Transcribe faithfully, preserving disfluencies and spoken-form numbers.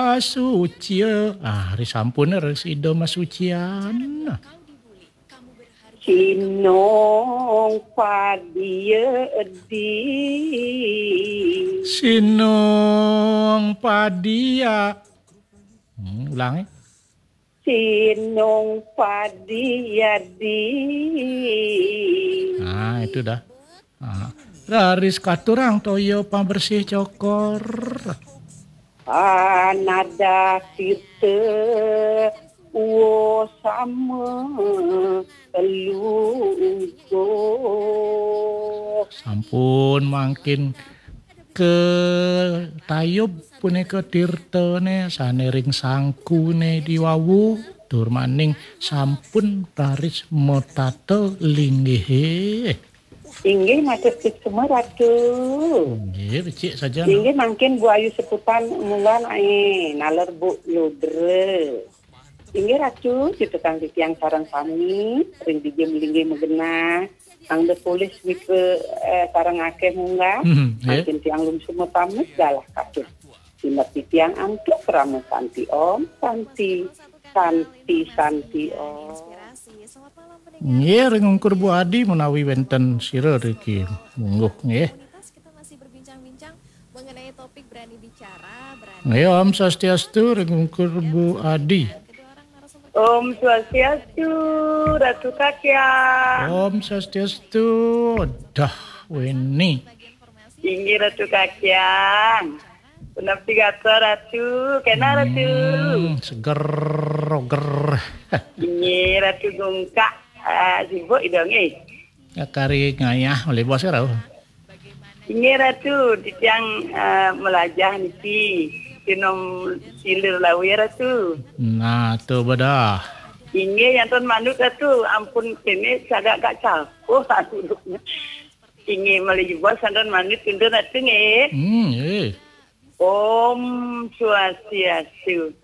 Masucia. Ah, ari sampun res Ida masucian. Sinong padia di. Sinong padia. Hmm, ulangi. Sinong padia di. Nah, itu dah. Ah, raris katurang toya pambersih cokor. Anada tirta wosama luguh. Sampun mangkin ketayub punika tirtane sane ring sangkune diwawu, tur maning sampun raris matata linggihe. Inggih, matur suksma, Ratu. Nggih, becik saja, no. Inggih, mangkin Bu Ayu Seputan munggah ae, naler Bu Ludra. Inggih, Ratu, cutetang titiang sareng sami, ring dija malinggih magenah, angda polih nika, eh, sareng akeh munggah, hmm, nggih. Mangkin tiang lumsuma pamit galah katut. Sineb titiang antuk krama santi om, santi, santi, santi om. Nggih, ring ungkur Bu Adi menawi wenten sira riki mungguh, nggih. Kita masih berbincang-bincang mengenai topik berani bicara, berani. Nggih, Om Swastiastu, ring ungkur Bu Adi. Om Swastiastu, Ratu Kakyang. Om Swastiastu, dah weni. Inggih, Ratu Kakyang. Punapi gatra, Ratu? Kena, Ratu? Hmm, seger, roger. Inggih, Ratu Gungkak. Ah, sibuk Ida, nggih? Ya, kari ngayah, oleh bos, Ratu. Inggih, Ratu. Titiang, ah, melajah niki. Sinom silir lawi, Ratu. Nah, tu bedah. Inggih, yantun manut, Ratu. Ampun, kene sagak gak capuh, Ratu. Inggih, malih jebos santen manis, pinten ati nggih. Hmm, nggih. Om Swastiastu.